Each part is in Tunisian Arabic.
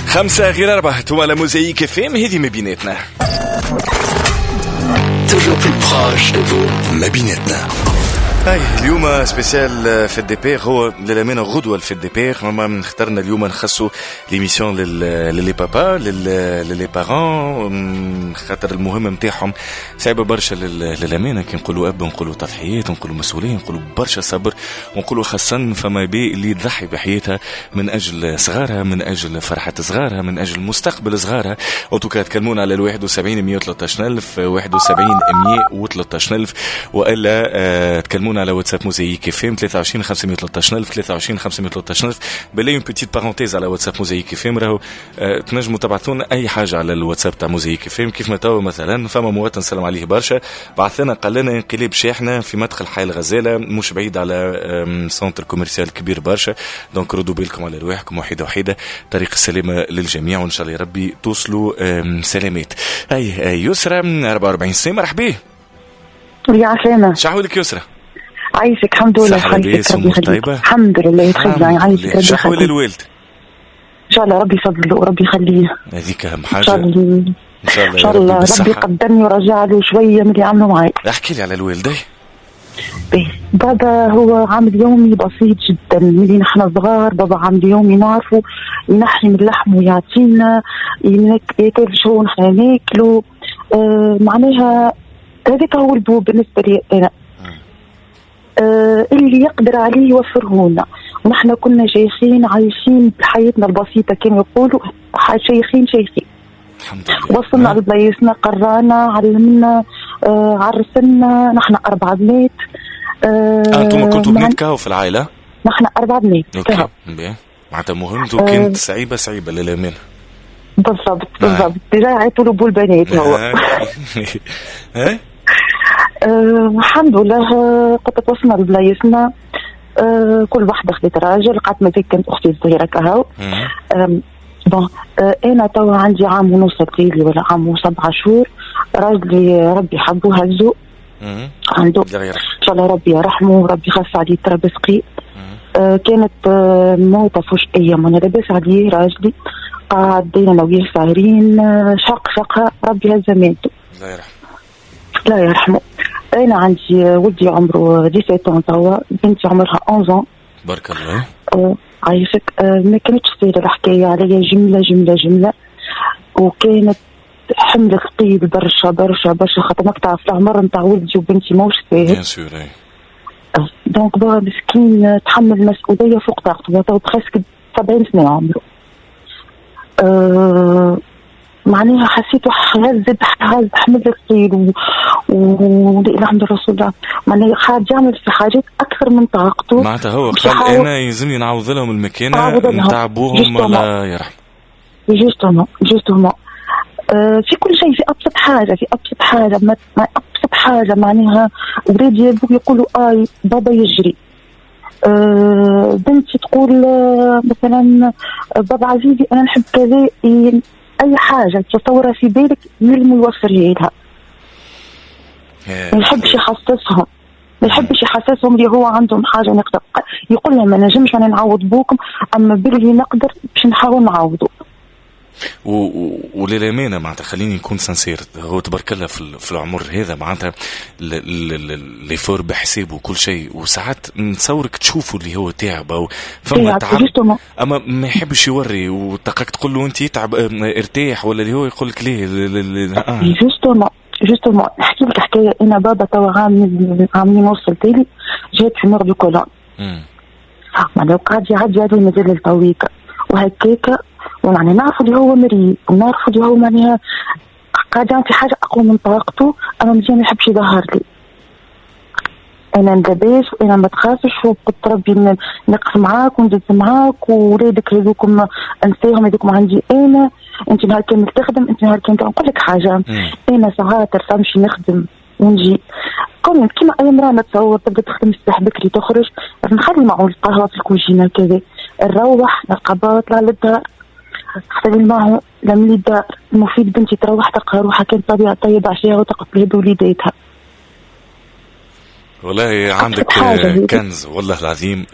4:55 انتم على موزايك FM، هذه ما بيناتنا. Toujours plus proche de vous. ما بيناتنا. هاي اليوم spécial fête des pères، هو للامانة غدوه ال fête des pères، ما اخترنا اليوم نخصوا l'émission ل les papas، ل les parents، خاطر المهمة نتاعهم صعيبة برشا. للامانه، كي نقولوا اب نقولوا تضحيات، نقولوا مسؤوليه، نقولوا برشا صبر، ونقولوا خاصة فما بي اللي تضحي بحياتها من اجل صغارها، من اجل فرحه صغارها، من اجل مستقبل صغارها. en tout cas تكلمونا على ال 71 113 الف، 71 113 الف، والا تكلمونا على واتساب موزايك FM 23 513 الف، 23 513 الف. بالله une petite parenthèse على واتساب موزايك FM، راهو تنجموا تبعثوا لنا اي حاجة على الواتساب تاع موزايك FM. كيف ما توا مثلا فما مواطن سلم عليه برشا، بعث لنا قال لنا انقلاب شاحنة في مدخل حي الغزاله، مش بعيد على centre commercial كبير برشا. donc ردوا بالكم على رواحكم، وحيده وحيده، طريق السلامة للجميع، وان شاء الله يا ربي توصلوا سلامات. هاي يسرى، 44 سنه، مرحبا. يا عسلامة. شحوالك يسرى؟ عايشك، الحمد لله. صحة، لاباس؟ ربي أمور يخليك. طيبة؟ الحمد لله، تخيل عايشك، ربي شحوال يخليك. الوالد؟ ان شاء الله ربي يفضله وربي يخليه. هذيك اهم ان حاجه. شاء الله. ان شاء الله. ان شاء يا ربي الله ربي بالصحة. يقدرني ورجع له شوية من اللي عملوا معي. احكي لي على الوالد. باهي. بابا هو عامل يومي بسيط جدا، ملي نحن صغار بابا عامل يومي نعرفه، ينحي من اللحم ويعطينا، ياكل شو نحن ناكلو. معناها هذاك هو البو بالنسبة لي انا. اللي يقدر عليه يوفره لنا، ونحن كنا شيخين عايشين بحياتنا البسيطه، كانوا يقولوا شيخين شيخين. الحمد لله. وصلنا لبلايصنا، قرانا، علمنا، عرسنا، نحن اربع بنات. انتم كنتوا بنات كهو في العائله؟ نحن اربع بنات. OK، باهي. معناتها مهمته كانت صعيبة صعيبة للامانه. بالضبط بالضبط، déjà يعيطوا له بو البنات هو. ها. الحمد لله، قد وصلنا لبلايصنا، كل واحدة خذت راجل، قعدت مازال كانت أختي الصغيرة كهو. Bon، أنا توا عندي عام ونص تقريبا ولا عام و7 شهور، راجلي ربي حبه هزو عنده. الله يرحمه. إن شاء الله ربي يرحمه وربي يخف عليه تراب سقي. كانت موتة فجائية، ما لاباس عليه راجلي، قعد انا وياه ساهرين، شق شقها، ربي هز ماتو. الله يرحمه. الله يرحمه. انا عندي ولدي عمره 17 توا، بنتي عمرها 11. بارك الله. عايشك. ما كانتش سهلة الحكاية عليا جملة جملة جمله، وكانت حمل ثقيل برشا برشا برشا، خاطر ماك تعرف العمر نتاع ولدي وبنتي ماهوش ساهل. bien sûr، اي. donc بابا مسكين تحمل المسؤولية فوق طاقته، تو presque 70 سنة عمره. معناها حسيته هز هز حمل ثقيل و لا اله الا رسول الله، معناها قاعد يعمل في حاجات اكثر من طاقته. معناتها هو باش قال يحاول- انا يلزمني نعوض لهم المكانة نعوض لهم. نتاع ابوهم. Justement. الله يرحم. justement justement، في كل شيء، في ابسط حاجه، في ابسط حاجه، ما ابسط حاجه، معناها ولادي يبقوا يقولوا اي بابا يجري، بنتي تقول مثلا بابا عزيزي انا نحب كذا، اي حاجة تصورها في بالك يلزم يوفرها لها. ما يحبش يحسسهم، ما يحبش يحسسهم اللي هو عندهم حاجة نقدر، يقول لهم ما نجمش انا نعوض بوكم، اما باللي نقدر باش نحاول نعوضه. وللامانة معناتها خليني نكون sincère، هو تبارك الله في العمر هذا معناتها l'effort بحسابه وكل شيء، وساعات نتصورك تشوفوا اللي هو تعب او فما تعب، اما ما يحبش يوري، وتلقاك تقول له انت تعب ارتاح ولا اللي هو يقول لك ليه. Justement justement، نحكي لك حكايه. انا بابا توا عام عام ونص التالي جات tumeur du côlon، معناها وقعد يعدي عليه مازال التويكا وهكاكا، ومعناها نعرفوا اللي هو مريض ونعرفوا اللي هو معناها قاعد يعمل في حاجة اقوى من طاقته، اما مزيان ما يحبش يظهر لي انا لاباس وانا ما تخافش، وقلت ربي نقف معاك وندز معاك، وولادك هذوكم انساهم، هذوكم عندي انا، انت نهار كامل تخدم، انت نهار كامل. نقول لك حاجه، انا ساعات نمشي نخدم ونجي كون كيما اي مراة نتصور تبدا تخدم الصباح بكري، تخرج نخلي معه القهوة في الكوجينه كذا، نروح نلقى بابا طلع للدار، غسل معه، لم لي الدار. المفيد بنتي تروح تلقى روحها كانت طبيعة طيب عشاها وتقف لها بوليداتها. والله عندك كنز والله العظيم.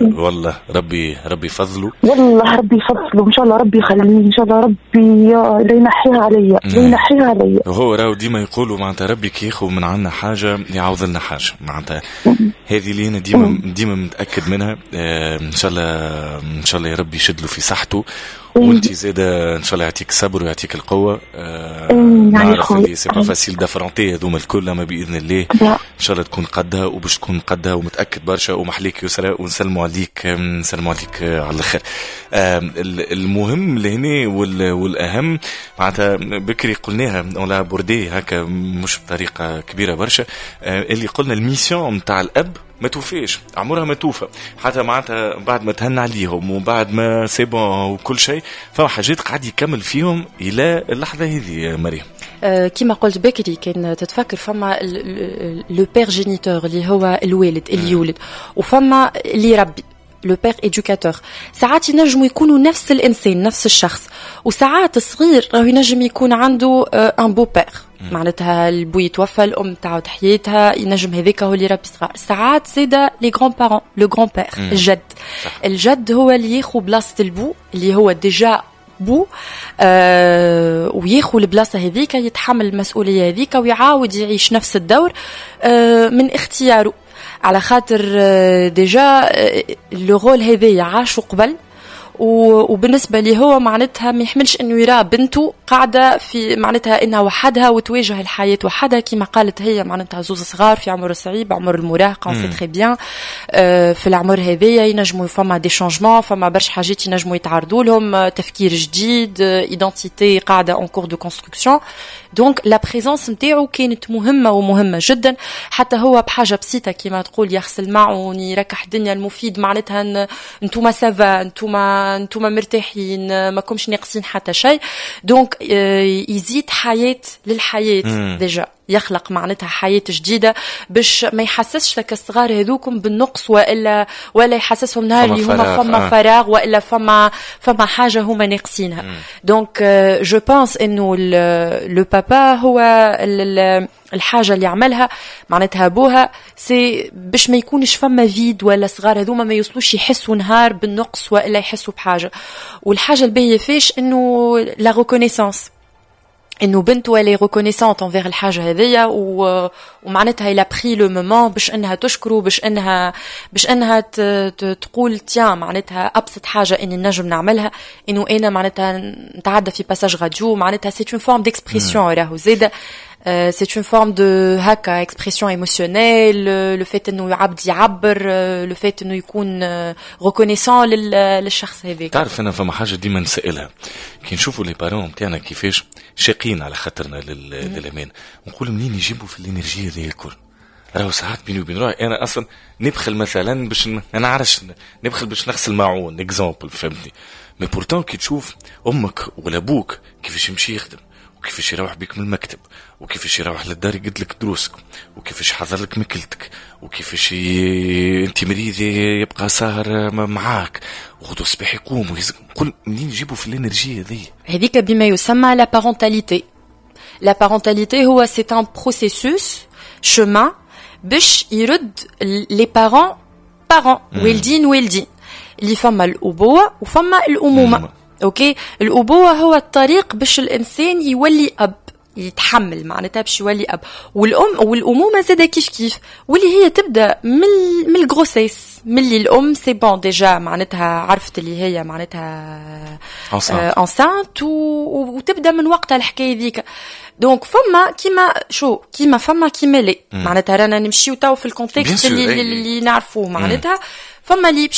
والله ربي يفضله، والله ربي يفضله، ان شاء الله ربي يخليه، ان شاء الله ربي لا ينحيها عليا، لا ينحيها عليا. هو راهو ديما يقولوا معناتها ربي كي ياخذ من عندنا حاجة يعوض لنا حاجة، معناتها هذه اللي انا ديما متاكد منها. ان شاء الله ان شاء الله يا ربي يشد له في صحته، وانت زاده ان شاء الله يعطيك الصبر ويعطيك القوة. نعرف اللي c'est pas facile d'affronter هذوما الكل، اما باذن الله ان شاء الله تكون قدها، وباش تكون قدها ومتاكد برشا. ومحليك يسرا، ونسلموا عليك، نسلموا عليك على الاخر. المهم لهنا والاهم معناتها بكري قلناها on l'a abordé هكا مش بطريقة كبيرة برشا، اللي قلنا ال mission نتاع الاب ما توفيش، عمرها ما توفى، حتى معناتها بعد ما تهنى عليهم وبعد ما c'est bon وكل شيء، فما حاجات قاعد يكمل فيهم الى اللحظة هذه. مريم، كما قلت بكري كان تتفكر، فما le père géniteur اللي هو الوالد اللي يولد، وفما اللي يربي le père éducateur. ساعات ينجموا يكونوا نفس الانسان، نفس الشخص، وساعات الصغير راهو ينجم يكون عنده un beau-père، معناتها البو يتوفى، الام تعاود حياتها، ينجم هذاك هو اللي يربي صغار. ساعات زاده les grands-parents، le grand-père، الجد. الجد هو اللي ياخذ بلاصة البو اللي هو déjà بو، وياخذ البلاصة هذيك، يتحمل المسؤولية هذيك ويعاود يعيش نفس الدور من اختياره، على خاطر déjà le rôle هذايا عاشو قبل، وبالنسبة لي هو معناتها ما يحملش انه يرى بنته قاعدة في معناتها انها وحدها وتواجه الحياة وحدها، كما قالت هي معناتها زوز صغار في عمر صعيب، عمر المراهقه، c'est très bien. في العمر هذايا ينجموا فما des changements، فما برشا حاجات ينجموا يتعرضوا لهم، تفكير جديد، identité قاعدة en cours de construction، donc la présence نتاعو كانت مهمة ومهمة جدا. حتى هو بحاجة بسيطة كما تقول يغسل معون، يركح الدنيا، المفيد معناتها انتوما ça va، انتوما مرتاحين، ما كومش ناقصين حتى شيء. donc يزيد حياة للحياة déjà، يخلق معناتها حياة جديدة باش ما يحسسش لك الصغار هذوكم بالنقص، ولا يحسسهم نهار اللي هما فما فراغ والا فما حاجة هما ناقصينها. donc je pense انه le papa هو الحاجة اللي عملها معناتها ابوها، c'est باش ما يكونش فما vide، ولا صغار هذوما ما يوصلوش يحسوا نهار بالنقص والا يحسوا بحاجه. والحاجة الباهيه فيش انه la reconnaissance، انه بنته elle est reconnaissante envers الحاجة هذيا، ومعناتها elle a pris le moment باش انها تشكره، باش انها تقول tiens، معناتها ابسط حاجة اني نجم نعملها انه انا معناتها نتعدى في passage radio، معناتها c'est une forme d'expression، راهو زاده c'est une forme de هكا expression émotionnelle، le fait انه عبد يعبر، le fait انه يكون reconnaissant للشخص هذاك. تعرف انا فما حاجة ديما نسالها كي نشوفوا les parents نتاعنا كيفاش شاقين على خاطرنا للامان، نقول منين يجيبوا في l'énergie هذه الكل؟ راهو ساعات بيني وبين روحي انا اصلا نبخل مثلا باش انا عارش نبخل باش نغسل معون exemple، فهمتني؟ mais pourtant كي تشوف امك ولا ابوك كيفاش يمشي يخدم، وكيفاش يروح بيك من المكتب، وكيفاش يروح للدار يقد لك دروسك، وكيفاش يحضر لك ماكلتك، وكيفاش انت مريض يبقى ساهر معاك، وغدو الصباح يقوم نقول منين يجيبوا في l'énergie هذه؟ هذيك بما يسمى la parentalité. la parentalité هو c'est un processus، chemin باش يرد les parents parents، والدين والدين، اللي فما الابوة وفما الامومه. OK، الابوة هو الطريق باش الانسان يولي اب، يتحمل معناتها باش يولي اب، والام والامومه زاده كيف كيف، واللي هي تبدا من ال grossesse، من اللي الام c'est bon déjà معناتها عرفت اللي هي معناتها enceinte، وتبدا من وقتها الحكاية ذيك. donc فما كيما شو كيما فما كيما لي معناتها رانا نمشيو تو في ال contexte اللي نعرفوه، معناتها فما اللي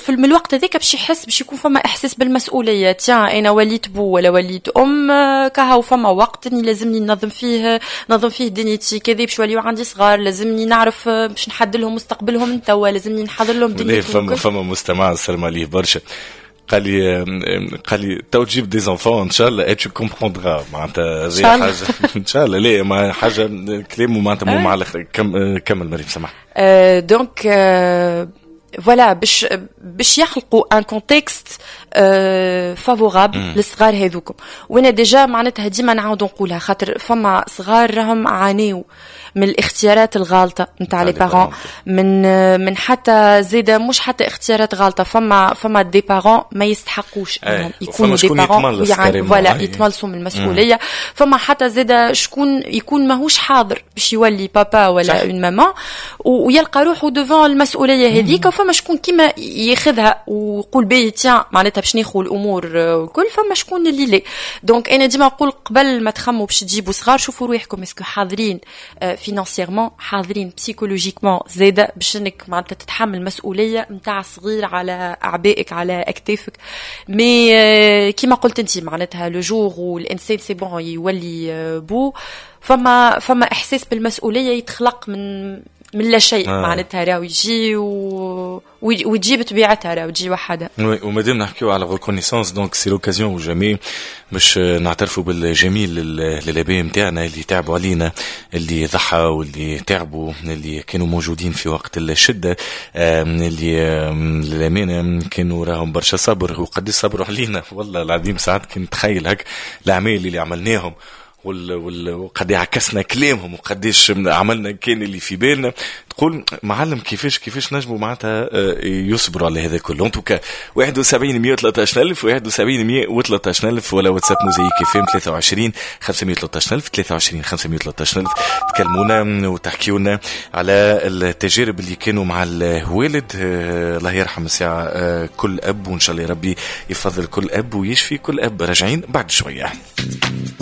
من الوقت هذاك باش يحس باش يكون فما احساس بالمسؤوليه، tiens انا وليت بو ولا وليت ام كهو، فما وقت اني لازمني ننظم فيه دنيتي كذا، باش يوليو عندي صغار، لازمني نعرف باش نحدد لهم مستقبلهم توا، لازمني نحضر لهم دنيتهم. فما مستمع سلم عليه برشا، قال لي تو تجيب des enfants ان شاء الله et tu comprendras، معناتها زي حاجة ان شاء الله، ليه ما حاجة كلامه معناتها مو مع الاخر. كمل مريم سمح. donc voilà، باش يخلقوا un contexte favorable للصغار هذوكم. وانا déjà معناتها ديما نعاود نقولها، خاطر فما صغار راهم عانيو من الاختيارات الغالطة نتاع les parents، من حتى زيادة مش حتى اختيارات غالطة، فما des parents ما يستحقوش انهم يكونوا des parents، يعني voilà يتملصوا من المسؤولية. فما حتى زيادة شكون يكون ماهوش حاضر باش يولي بابا ولا une maman ويلقى روحه devant المسؤولية هذيك. وفما شكون كيما ياخذها ويقول باهي tiens، معناتها باش ناخذ الامور الكل. فما شكون اللي لا. donc انا ديما نقول قبل ما تخموا باش تجيبوا صغار، شوفوا روحكم est-ce que حاضرين financièrement، حاضرين psychologiquement زاده، باش انك معناتها تتحمل مسؤولية نتاع صغير على اعبائك، على اكتافك. mais كيما قلت انت، معناتها le jour والانسان c'est bon يولي بو، فما احساس بالمسؤولية يتخلق من لا شيء. معناتها راهو يجي وتجي بطبيعتها، راهو تجي وحدها. oui، ومادام نحكيو على reconnaissance، donc c'est l'occasion ou jamais باش نعترفوا بالجميل للاباء نتاعنا اللي تعبوا علينا، اللي ضحوا واللي تعبوا، اللي كانوا موجودين في وقت الشده، اللي للامانة كانوا راهم برشا صبر وقد صبروا علينا. والله العظيم ساعات كنت نتخيل هك الاعمال اللي عملناهم وقد عكسنا كلامهم وقديش عملنا كان اللي في بالنا، تقول معلم كيفاش نجموا معناتها يصبروا على هذا كله. en tout cas 71 113 الف، 71 113 الف، ولا واتساب موزايك FM 23 513 الف، 23 513 الف. تكلمونا وتحكيونا على التجارب اللي كانوا مع الوالد. الله يرحم الساعة كل أب، وإن شاء الله ربي يفضل كل أب ويشفي كل أب. راجعين بعد شوية.